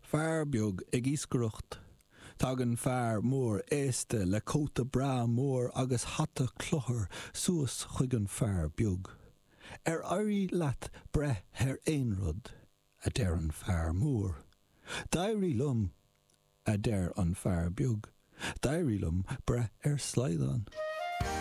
Fear beag ag iascaireacht. Tagann fear mór aosta le cóta breá mór agus hata cluthar suas chuig an fear beag. Ar éirigh leat breith ar aon rud? a deir an fear mór. D'éirigh liom, a deir an fear beag. D'éirigh liom breith ar slaghdán.